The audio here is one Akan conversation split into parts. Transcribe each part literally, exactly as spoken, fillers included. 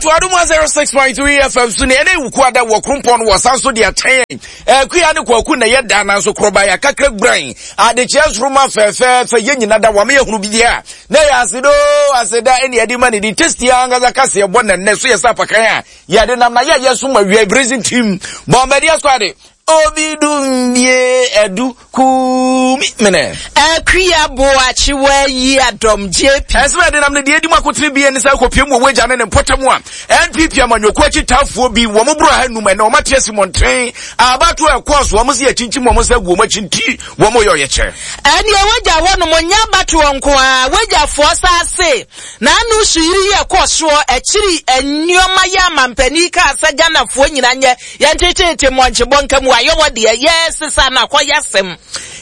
Ato Adom one oh six point three F M so ne ɛne Wukuada wɔ Krompɔn no wɔ san so de akyɛn Akua ne Kwaku na yɛda nanso korɔba yɛ akakra guran adekyeɛ nsoroma fɛfɛɛfɛ. Yɛn nyina da wame yɛhunu bi deɛ a na yɛ asedo aseda ɛne yɛde ma ne di tasty ankasa kaseɛ bɔ nɛnnɛ so yɛ sɛ apakan a yɛde nam na yɛyɛ so ma wia bracing team Bombardier squad obi dumbie ɛdu kumi mene. Akua Boakyewa yi adɔm J P. Ɛsɛ ɛde nam ne deɛ edi mu akotene bie ne sɛ kɔpie mu wɔ wagya ne ne mpɔtam a N P P amanyɔkuo akyitaafoɔ bi wɔn boro ha num ɛna wɔn ate asi mmɔnten abato ɛkɔɔ so wɔn si akyinkyim wɔn nsa gu wɔn akyi nti wɔn yɛ ɔyɛkyɛ. Ɛneɛ wagya hɔnom nyɛ abatoɔ nko a wagyafoɔ saase na ano suyiri yi ɛkɔɔ soɔ akyiri nneɛma yɛ amampanin kaa sɛ Ghanafoɔ nyina nyɛ yɛntetete mmɔnkyebɔ nka mu ayɛwɔ deɛ yɛsesa no akɔyɛ asɛm.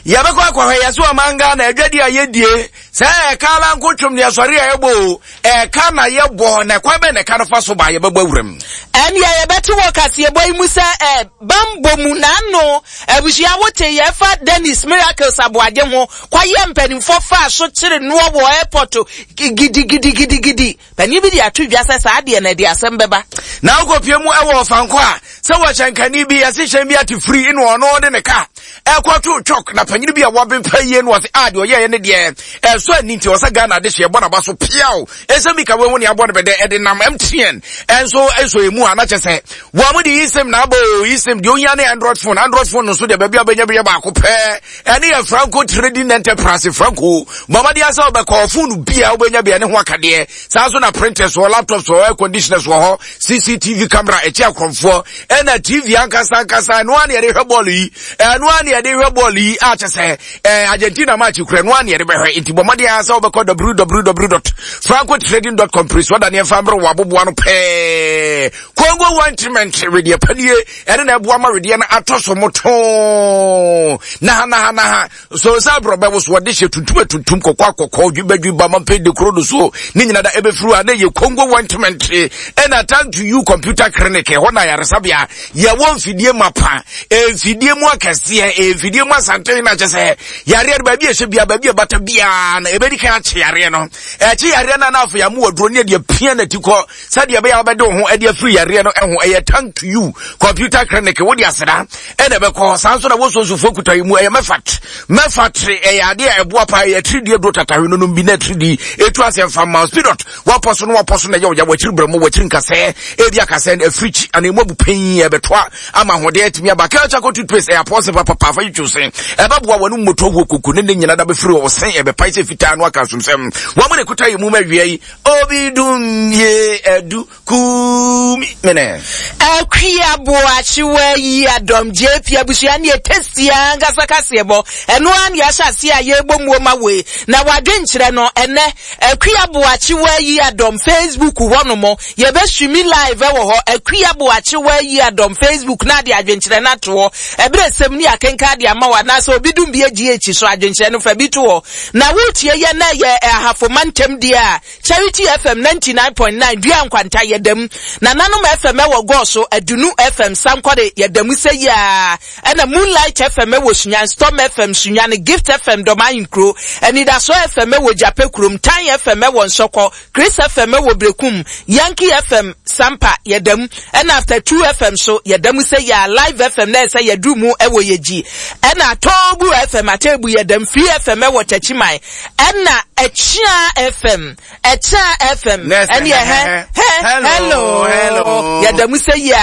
Yɛbɛkɔ akɔhwɛ yɛ so ɔman Ghana adwadi a yɛdie sɛ ɛka ala nko twom deɛ sɔre a yɛbɔ o ɛka na yɛbɔ na ɛkwan bɛn na ɛka no fa so ba yɛbɛbɔ awuram. Ɛneɛ yɛbɛte wɔ kaseɛbɔ yi mu sɛ ɛ bambɔ mu n'ano abusua wote yɛfa Dennis Miracles Aboagye ho kɔyɛ mpanimfoɔ faa so kyere noɔ wɔ airport gidigidigidigidi. Panin bi de ato dwa sɛ saa deɛ na ɛde asɛm bɛba. Na wokɔpie mu ɛwɔ Ɔfankɔ a sɛ wɔhyɛnkani bi yɛse hyɛn bi ate firi ne ɔno de ne ka ɛkɔto twɔk na panyini bi a wɔbempa yie no wɔse a deɛ ɔyɛɛ ne deɛ ɛsɔ ani nti ɔsɛ Ghana de hyɛ ɛbɔ n'aba so piaw ɛsɛ bi ka wei ho ne abɔ no bɛdɛ ɛde nam M T N ɛnso ɛsɔ emu a na kyɛ sɛ wɔn mo de eSIM na abɔ o eSIM deɛ ohia ne Android phone. Android phone no nso deɛ baabi a bɛnya bi yɛ baako pɛɛ ɛne yɛ Franco Trading Enterprise. Franco bɔmmɔden asɛ ɔbɛkɔ phone bi a wobɛnya bi ɛne ho akadeɛ saa nso na printers wɔ, laptops wɔ, air conditioners wɔ hɔ, C C T V camera ɛkyi akorɔmfoɔ ɛna T V ankasa ankasa. Ɛno a ne yɛde hwɛ bɔɔlo yi, ɛno a ne yɛde hwɛ bɔɔlo yi a kyɛ sɛ ɛɛ Argentina match kura ɛno a ne yɛde bɛhwɛ. Nti bɔmmɔden asɛ wobɛkɔ w w w dot francotrading dot com pere so ɔda ne ɛmfa mmerɛ wɔ aboboa no pɛɛ. Congo ointment wedeɛ panie ɛne na ɛboa ma wedeɛ no atɔ so motoo naha naha naha so sɛ aborɔbɛ wo so wɔde hyɛ tuntum atuntum kɔkɔ akɔkɔ dwibadwiba mampe de kuro no so ne nyina da ɛbɛfiri a na ɛyɛ Congo ointment. Ɛna Time to You Computer Clinic ɛhɔ na ayaresabea yɛwɔ mfidie mapa, mfidie mu akɛseɛ, mfidie mu asanten na kyɛ sɛ yareɛ no baabi a ɛhyɛ bia baabi a ɛbata biara no ɛbɛdi kan akye yareɛ no ɛkye yareɛ no na afei amu aduro ne deɛ pia n'ati kɔ sɛdeɛ ɛbɛyɛ a wobɛde wo ho ɛde afiri yareɛ no ɛho. Ɛyɛ Time to You Computer Clinic wode aseda ɛna ɛbɛkɔ. Saa nso na wɔsonsofoɔ kuta yi mu ɛyɛ mɛfat mɛfat ɛyɛ adeɛ a ɛboa paa. Ɛyɛ tiridie duro tatahwe no nom bi na tiridi ɛtu asɛ mfa ma spidot wapɔ so no wapɔ so na ɛyɛ ɔya wakyiri brɛ mu wakyiri nkasɛɛ ebi akasɛɛ no afiri kyi ana emu abu pɛn ɛbɛtoa ama ahoɔden atumi aba. Kelchako toothpaste ɛyɛ apɔse papapa afa yi se ɛbɛboa wɔn mmɔtɔ wɔ koko ne ne nyina da bɛfiri wɔ se ɛbɛpae sɛ fitaa no aka asomsɛm wɔn mo ne kuta yi mu ma awia yi obi dum ye ɛdu kumi mene. Akua Boakyewa yi adɔm J P abusua ne tasty ankasa kaseɛbɔ ɛno ara ne yɛahyɛ ase a yɛrebɔ muo ma wei na wadwenkyerɛ no. Ɛnɛ Akua Boakyewa yi adɔm Facebook hɔ nom yɛbɛstream live ɛwɔ hɔ. Akua Boakyewa yi adɔm Facebook na ade adwenkyerɛ no ato hɔ ɛberɛ sɛm ne akenka de ama wo anaasɛ obi dum bi agyi akyi so adwenkyerɛ no fa bi to hɔ na wotie yɛ na yɛ Ahafo mantam deɛ a Charity F M ninety-nine point nine Dua Nkwanta yɛdam, Nananom F M ɛwɔ Gɔɔso, Adunu F M Sankɔre yɛdam sɛ yia ɛna Moonlight F M ɛwɔ Sunyan, Storm F M Sunyan, Gift F M Dɔm Ahenkuro, Anidaso F M ɛwɔ Gyape kurom, Tan F M ɛwɔ Nsɔkɔ, Chris F M ɛwɔ Brekum, Yankee F M Sampa yɛdam, ɛna After Two F M so yɛdam sɛ yia, Live F M na ɛsɛ yɛduru mu ɛwɔ Yɛgyi, ɛna Toobu F M Atebu yɛdam, Free F M ɛwɔ Takyiman, ɛna Ɛkyia F M, Ɛkyia F M ɛne ɛhɛ hello hello yɛda mu sɛ yia.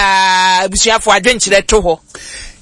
Abusuafo adwenkyerɛ to hɔ.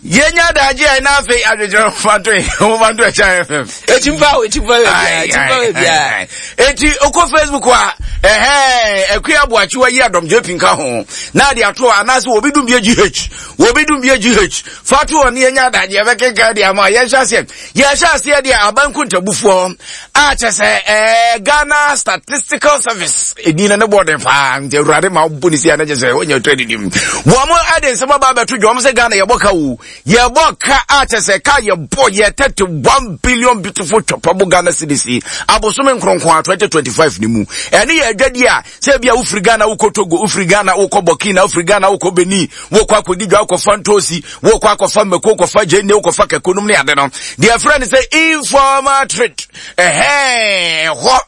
Yɛnya adagye a ɛna afei adwenkyerɛ fanto fanto Ɛkyia F M. Ekyimfa o ekyimfa wɔ bia ekyimfa wɔ bia. Eti okɔ Facebook a ɛhɛn Akua Aboakyewa yi adɔm J P nka ho na ade ato anaasɛ obi dum bie G H obi dum bie G H fato wɔ ne yɛnya adagye yɛbɛkenkan de ama. Yɛnhyɛ aseɛ yɛhyɛ aseɛ deɛ abanku ntabufoɔ a kyɛ sɛ ɛɛ Ghana Statistical Service ɛdin no ne bɔɔden paa nti Awurade ma wobɔ ne si a ne kyɛ sɛ wonya ɔtɔ adidim. Wɔn mo ɛde nsɛm aba abɛto dwa wɔn sɛ Ghana yɛbɔ ka o yɛbɔ ka a kyɛ sɛ ka yɛbɔ yɛ thirty one billion beautiful twɔpɔbo Ghana cedis abosome nkronkron a twenty twenty five ne mu. Ɛne yɛ adwadi a sɛ ebi a wofiri Ghana wokɔ Togo, wofiri Ghana wokɔ Burkina, wofiri Ghana wokɔ Benin, wokɔ akɔdi dwa, wokɔfa ntoosi, wokɔ akɔfa mmako, wokɔfa gyeene, wokɔfa kɛkɔ nom ne ade no deɛ ɛfrɛ no sɛ informal trade ɛhɛn hɔ.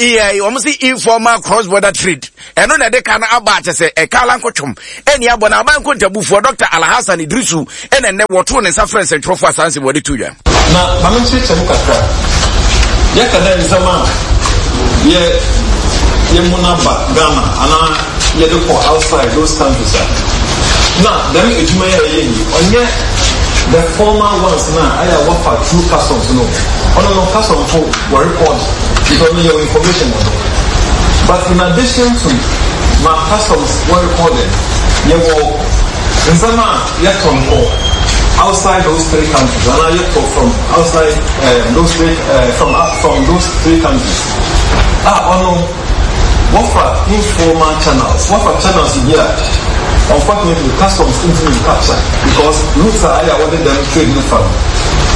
Ɛyɛ wɔn si informal cross border trade, ɛno na ɛde ka no aba, akyɛ sɛ ɛka ala nkotwom ɛni abɔ na aban nkontabufoɔ Doctor Alhassan Idrisu ɛna nnɛ wɔtoo ne nsa frɛ nsɛntwerɛfoɔ asanse wɔde to dwa. Na maame nkyerɛkyerɛ mu kakra, yɛka dɛ nsɛm a yɛ yɛmu no aba Ghana anaa yɛde kɔ outside those countries a, na dɛm adwuma yɛ ɛyɛ yi, ɔnyɛ the formal ones na ayɛ a wɔfa through customs no. Ɔno no, customs fo wɔ record because no yɛwɔ information wɔ do, but in addition to ma customs wɔ recorded, yɛwɔ nsɛm a yɛtɔn kɔ outside those three countries anaa yɛtɔ from outside um, those three uh, from uh, from those three countries a, ɔno wɔfa informal channels, wɔfa channels bi a unfortunately customs ntumi capture because routes a ayɛ a wɔde dɛm trade no fa no,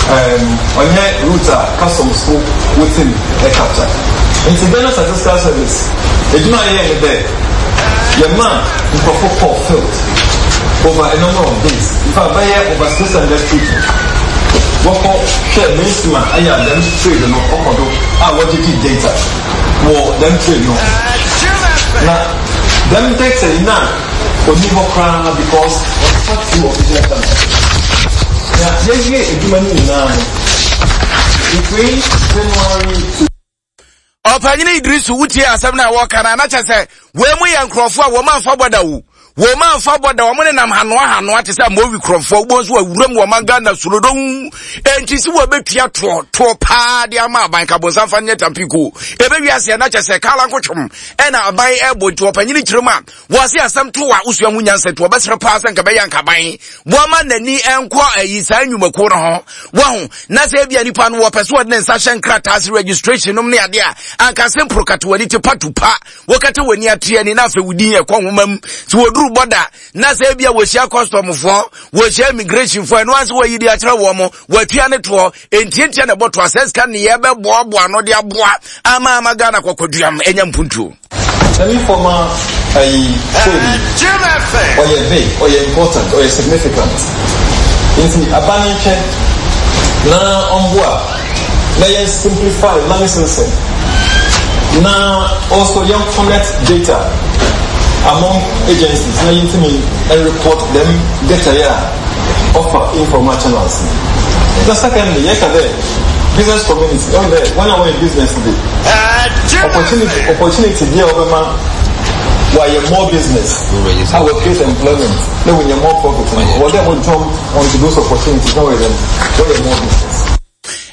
um, ɔnyɛ route a customs fo wotim capture. Nti Ghana Statistical Service edwuma a yɛyɛ ne dɛ yɛma nkurɔfo kɔ field over a number of days, in fact bɛyɛ over six hundred people wɔkɔ hwɛ mainstream a ɛyɛ a dɛm trade no ɔkɔ do a wɔgyegye data wɔ dɛm trade no. Na dɛm data yi na oni hɔ koraa because ɔfa through official channels. Na yɛwie adwuma no nyinaa no between January to Ɔpanyini Idrisu, wotie asɛm no a wɔka no a, na kyɛ sɛ wei mu yɛ nkurɔfoɔ a wɔn amfa bɔda wo, wɔn amfa bɔda, wɔn nenam hanoa hanoa te sɛ amowi kurɔfoɔ wobɔ nso awuram wɔ man Ghana sorodon. Enti si wɔbɛtua toɔ toɔ paa de ama aban ka bonsam fa nyɛ tampiko ɛbɛwi aseɛ, na kyɛ sɛ kala nkotwom ɛna aban ɛbɔ. Nti ɔpanyini kyerɛ mu a wɔse asɛm to a wosua ho nyansa, nti wɔbɛsrɛ paa sɛ nka bɛyɛ nkaban wɔma n'ani nkɔ ayi saa nnwumakuo no ho wɔho, na sɛ ebia nipa no wɔpɛ so wɔde ne nsa hyɛ nkrataa ase registration nom ne adeɛ a, anka sɛ mporo kata w'ani te patupa wɔkata w'ani ate ani na afei wodin ɛkɔ nwoma mu sɛ wɔduru bɔda, na sɛ ebia wɔhyia customfoɔ, wɔhyia immigrationfoɔ, ɛno ase wɔyi de akyerɛ wɔn mo wɔatua ne toɔ ntiantia na ɛbɔ toɔ asɛ sika ne yɛbɛboaboa no de aboa ama ama Ghana kɔkɔduam ɛnya mpuntuo. Dɛm informal ayi trade yi, ɔyɛ big, ɔyɛ important, ɔyɛ significant. Nti aba ne nkyɛn na ɔmboa na yɛn simplify licensing na also yɛn connect data among agencies na yɛntumi report them data yɛ a ɔfa informal channels. Na secondly, yɛka dɛ business community ɔn dɛ wɔn a wɔyɛ business de opportunity opportunity bi a wɔbɛma wɔayɛ more business a wɔ create employment na wɔnya more profit no, wɔ dɛ wɔ jump onto those opportunities na wɔyɛ dɛm wɔyɛ more business.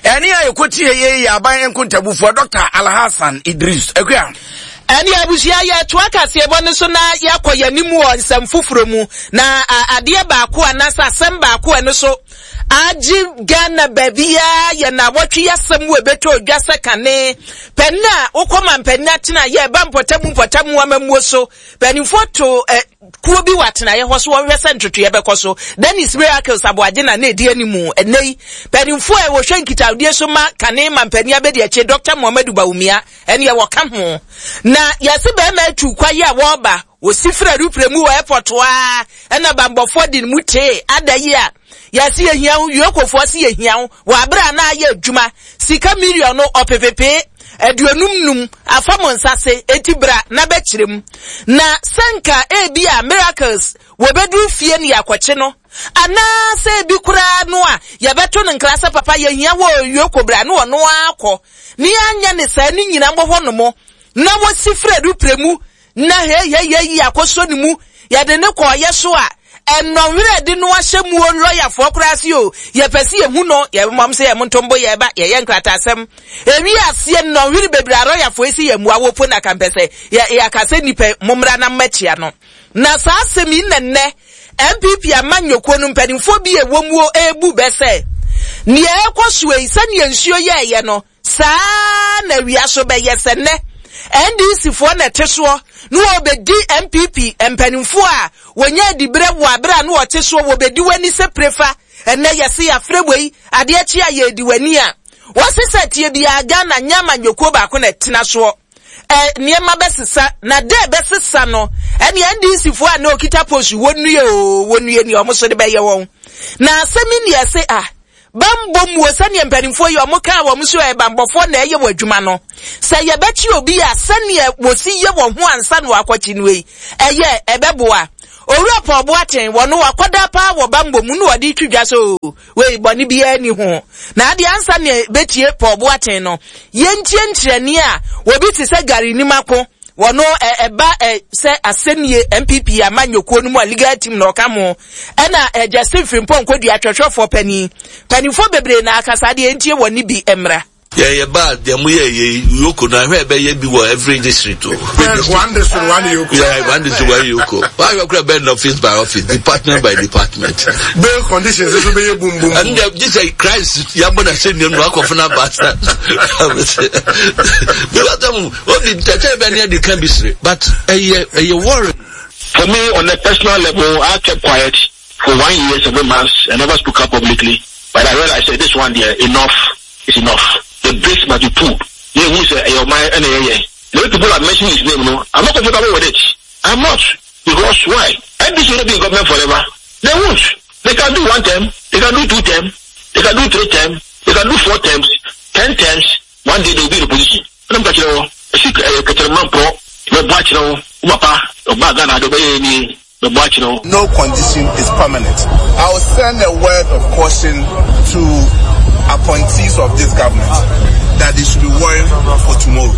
Ɛne a yɛkɔtie yɛ yɛ aban nkontabufoɔ Doctor Alhassan Idris. Akua. Ɛne abusua, yɛtoa kaseɛbɔ no so na yɛakɔ yɛn wɔ nsɛm foforɔ mu. Na adeɛ baako anaasɛ asɛm baako ɛno so agye Ghana baabiara yɛ na wɔtwe yɛasɛm wɔ ɛbɛtɔ odwa sɛ kane pɛn a wokɔ ma mpanin atena yɛ ɛba mpɔtamu mpɔtamu amammuo so mpanimfoɔ to ɛ kuo bi wɔ atenaeɛ hɔ so wɔhwɛ sɛ ntotoeɛ bɛkɔ so. Dennis Miracles Aboagye na na ɛdi animu. Ɛnɛ yi mpanimfoɔ a wɔhwɛ nkitahodie so ma kane ma mpanin abɛdi akyire, Doctor Muhammadu Bawumia, ɛneɛ wɔka ho. Na yɛse bɛrima atu kwayi a wɔreba, wɔsi firi arupere mu wɔ airport a, ɛna bambɔfoɔ de ne mu tee ada yi a yɛse yɛhia wo, yokofoɔ se yɛhia wo wɔ abere a na ayɛ adwuma sika million no ɔpepepee aduonum num afa mo nsa se eti bra na bɛkyerɛ mu. Na sɛnka ebi a Miracles wɔbɛduru fie ne yɛakɔkye no, anaasɛ ebi koraa no a yɛbɛto no nkra sɛ papa yɛhia wɔ yoko, bra ne ɔno akɔ ne yɛanyɛ ne saa ne nyina mbɔ hɔ nom na wɔsi firi adupere mu na heyeyeye akɔsɔ ne mu yɛde ne kɔɔyɛ so a ɛnɔnwerɛ de no ahyɛ mu o. Lɔyafoɔ koraa se o yɛpɛ sɛ yɛhu no, yɛmɔm sɛ yɛ montombo yɛba yɛyɛ nkrataasɛm ewi aseɛ nnɔnwere bebree a lɔyafoɔ yi sɛ yɛ mmua wɔ po na kampɛ sɛ yɛaka sɛ nnipa mommra na mmɛkyia no. Na saa asɛm yi nnɛnnɛ N P P ama nnwokuo no mpanimfoɔ bi a ɛwɔ mu ebu bɛ sɛ nea ɛkɔ so yi, sɛnea nsuo yɛɛyɛ no saa na awia so bɛyɛ. Sɛ nnɛ N D C foɔ na ɛte soɔ na wɔbɛdi N P P mpanimfoɔ a wɔnyɛ adiberɛ wɔ abere a na wɔte soɔ, wɔbɛdi w'ani sɛ prefa. Ɛnɛ yɛse yɛafrɛ wei, adeɛ kye a yɛdi w'ani a wɔse sɛ tie biara Ghana nyɛ amanyɔkuo baako na ɛtena soɔ. Ɛ nneɛma bɛsesa na dɛ bɛsesa no, ɛne N D C foɔ a na okita post wɔnnue o, wɔnnue nea ɔmo so de bɛyɛ wɔn. Na asɛm yi nea ɛse a Bambɔ muo sɛneɛ mpanimfoɔ yi ɔmo kaa wɔn so ɛyɛ bambɔfoɔ na ɛyɛ wɔ adwuma no. Sɛ yɛbɛkye obi a sɛneɛ wɔsi yɛ wɔn ho ansa na wakɔkye no yi, ɛyɛ ɛbɛboa. Owura Paul Boateng wɔno wakɔda paa wɔ bambɔ mu na wɔde twi dwa so wei bɔne biara ni ho. Na adeɛ ansa ne bɛtie Paul Boateng no, yɛntie nkyerɛni a wɔbi te sɛ Gary Nimako wɔno ɛba ɛ sɛ asɛnnie N P P amanyɔkuo no mu a legal team na ɔka mo ɛna ɛ Justin Frimpong Kodua atwɛtwɛfoɔ panin panimfoɔ bebree na akasa adeɛ ntie wɔ ne bi mmra. Yɛ yɛ ba deɛ mo yɛ yɛ EOCO no ahwɛ ɛbɛyɛ bi wɔ every district o. One district, one EOCO. Yeah, one district, one EOCO. Why you kura bɛ office by office, department by department? Bail conditions nso bɛyɛ boom boom. And the this is Christ yabɔ na se nìyɛn nu akɔfo na ba sa. Because um, obi tɛtɛ bɛ ne yɛ de kan bi sere, but ɛyɛ ɛyɛ worry. For me, on a personal level, I kept quiet for one year, seven months. I never spoke up publicly. But I realized that this one there, enough is enough. The brakes must be pulled. Yeah, who say, hey, my, eh, yeah, yeah. The way people are mentioning his name, no, I'm not comfortable with it. I'm not. Because why? N D C will not be in government forever. They won't. They can do one term, they can do two terms, they can do three terms, they can do four terms, ten terms. One day they will be in opposition. I'm catching No condition is permanent. I will send a word of caution to appointees of this government that they should be worrying for tomorrow.